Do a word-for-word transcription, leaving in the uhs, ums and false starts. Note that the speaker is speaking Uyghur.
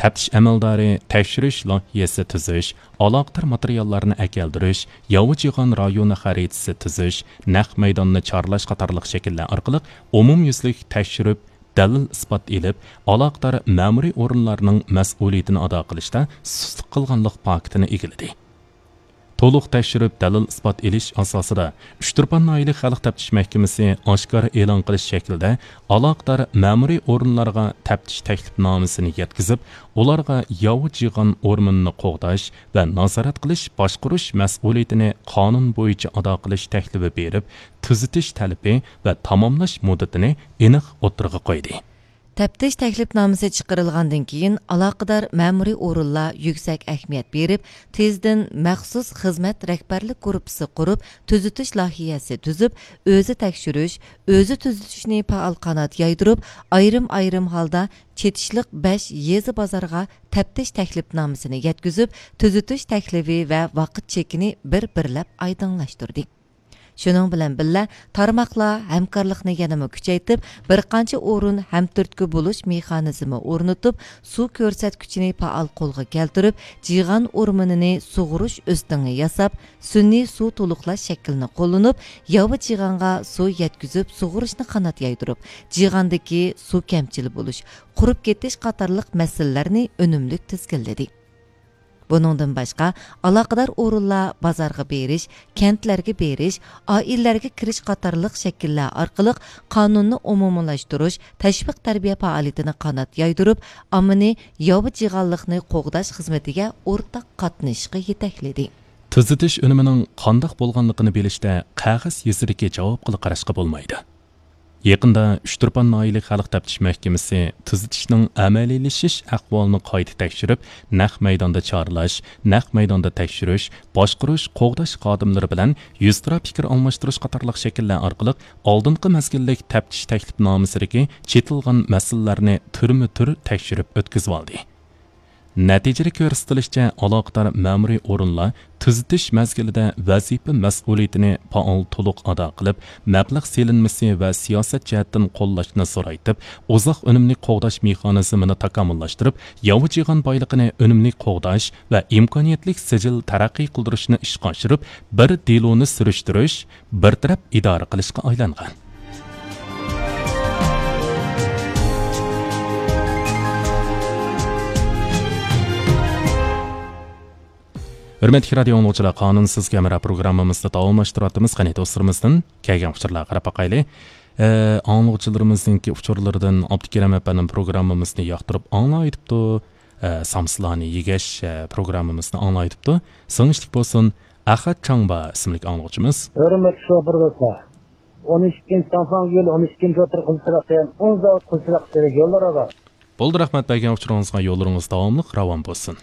تەپتىش ئەمەلدارى تەكشۈرۈش لايىھەسى تۈزۈش، ئالاقىدار ماتېرىياللارنى ئەكەلدۈرۈش، ياۋا جىغان رايونى خەرىتىسى تۈزۈش، نەق مەيداننى چارلاش قاتارلىق شەكىللەر ئارقىلىق ئومۇميۈزلۈك تەكشۈرۈپ، دەلىل-ئىسپات ئېلىپ، ئالاقىدار مەمۇرىي ئورۇنلارنىڭ مەسئۇلىيىتىنى ئادا قىلىشتا سۇسلۇق قىلغانلىق پاكىتىنى ئىگىلىدى. تولۇق تەكشۈرۈپ دەلىل-ئىسپات ئېلىش ئاساسىدا، ئۇچتۇرپان ناھىيەلىك خەلق تەپتىش مەھكىمىسى ئاشكارا ئېلان قىلىش شەكلىدە ئالاقىدار مەمۇرىي ئورۇنلارغا تەپتىش تەكلىپنامىسىنى يەتكۈزۈپ، ئۇلارغا ياۋا جىغان ئورمىنىنى قوغداش ۋە نازارەت قىلىش، باشقۇرۇش مەسئۇلىيىتىنى قانۇن بويىچە ئادا قىلىش تەكلىپى بېرىپ، تۈزىتىش تەلىپى ۋە تاماملاش مۇددىتىنى ئېنىق ئوتتۇرىغا قويدى. تەپتىش تەكلىپنامىسى چىقىرىلغاندىن كېيىن، ئالاقىدار مەمۇرىي ئورۇنلار يۈكسەك ئەھمىيەت بېرىپ، تېزدىن مەخسۇس خىزمەت رەھبەرلىك گۇرۇپپىسى قۇرۇپ، تۈزىتىش لايىھەسى تۈزۈپ، ئۆزى تەكشۈرۈش، ئۆزى تۈزىتىشنى پائال قانات يايدۇرۇپ، ئايرىم-ئايرىم ھالدا چېتىشلىق بەش يېزا، بازارغا تەپتىش تەكلىپنامىسىنى يەتكۈزۈپ، تۈزىتىش تەكلىپى ۋە ۋاقىت چېكىنى بىر-بىرلەپ ئايدىڭلاشتۇردى. شۇنىڭ بىلەن بىللە، تارماقلار ھەمكارلىقنى يەنىمۇ كۈچەيتىپ، بىر قانچە ئورۇن ھەمتۈرتكە بولۇش مېخانىزمى ئورنىتىپ، سۇ كۆرسەتكۈچىنى پائال قولغا كەلتۈرۈپ، جىغان ئورمىنىنى سۇغۇرۇش ئۆستىڭى ياساپ، سۈنئىي سۇ تولۇقلاش شەكلىنى قوللىنىپ، ياۋا جىغانغا سۇ يەتكۈزۈپ سۇغۇرۇشنى قانات يايدۇرۇپ، جىغاندىكى سۇ كەمچىل بولۇش، قۇرۇپ كېتىش قاتارلىق مەسىلىلەرنى ئۈنۈملۈك تىزگىنلىدى. بۇنىڭدىن باشقا، ئالاقىدار ئورۇنلار بازارغا بېرىش، كەنتلەرگە بېرىش، ئائىلىلەرگە كىرىش قاتارلىق شەكىللەر ئارقىلىق قانۇننى ئومۇملاشتۇرۇش، تەشۋىق تەربىيە پائالىيىتىنى قانات يايدۇرۇپ، ئاممىنى ياۋا جىغانلىقنى قوغداش خىزمىتىگە ئورتاق قاتنىشىشقا يېتەكلىدى. تۈزىتىش ئۈنۈمىنىڭ قانداق بولغانلىقىنى بىلىشتە قەغەز يۈزىدىكى جاۋابقىلا قاراشقا بولمايدۇ. يېقىندا ئۇچتۇرپان ناھىيەلىك خەلق تەپتىش مەھكىمىسى تۈزىتىشنىڭ ئەمەلىيلىشىش ئەھۋالىنى قايتا تەكشۈرۈپ، نەق مەيداندا چارلاش، نەق مەيداندا تەكشۈرۈش، باشقۇرۇش، قوغداش خادىملىرى بىلەن يۈزتۇرا پىكىر ئالماشتۇرۇش قاتارلىق شەكىللەر ئارقىلىق ئالدىنقى مەزگىللىك تەپتىش تەكلىپنامىسىدىكى چېتىلغان مەسىلىلەرنى تۈرمە تۈر تەكشۈرۈپ ئۆتكۈزۈۋالدى. نەتىجىدە كۆرسىتىلىشىچە، ئالاقىدار مەمۇرىي ئورۇنلار تۈزىتىش مەزگىلىدە ۋەزىپە مەسئۇلىيىتىنى پائال، تولۇق ئادا قىلىپ، مەبلەغ سېلىنمىسى ۋە سىياسەت جەھەتتىن قوللاشنى زورايتىپ، ئۇزاق ئۈنۈملۈك قوغداش مېخانىزمىنى تاكامۇللاشتۇرۇپ، ياۋا جىغان بايلىقىنى ئۈنۈملۈك قوغداش ۋە ئىمكانىيەتلىك سىجىل تەرەققىي قىلدۇرۇشنى ئىشقا ئاشۇرۇپ، بىر دېلونى سۈرۈشتۈرۈش، بىر تەرەپ ئىدارە قىلىشقا ئايلانغان. ھۆرمەتلىك رادىيو ئاڭلىغۇچىلار، قانۇنسىز ھەمراھ پروگراممىمىزنى داۋاملاشتۇرۇۋاتىمىز. قېنى، دوستلىرىمىزدىن كەلگەن ئۇچۇرلارغا قاراپ باقايلى. ئە، ئاڭلىغۇچىلىرىمىزنىڭكى ئۇچۇرلىرىدىن ئابدۇكېرىم ئەپەندىم پروگراممىمىزنى ياقتۇرۇپ ئاڭلايدىپتۇ. ئە، سامسىلارنى يېگەچ، ئە، پروگراممىمىزنى ئاڭلايدىپتۇ. سىڭىشلىك بولسۇن. ئەخەت چاڭبا ئىسىملىك ئاڭلىغۇچىمىز. ھۆرمەتلىك شوپۇر دوستلار، ئون ئىككىنچى چاڭساڭ يولى، ئون ئىككىنچى ئوتتۇرا قىزچىلىق دېگەن ئۇزاق قىزچىلىق كېرەك يوللىرىغا. بولدى، رەھمەت بەرگەن ئۇچۇرىڭىزغا، يوللىرىڭىز داۋاملىق راۋان بولسۇن.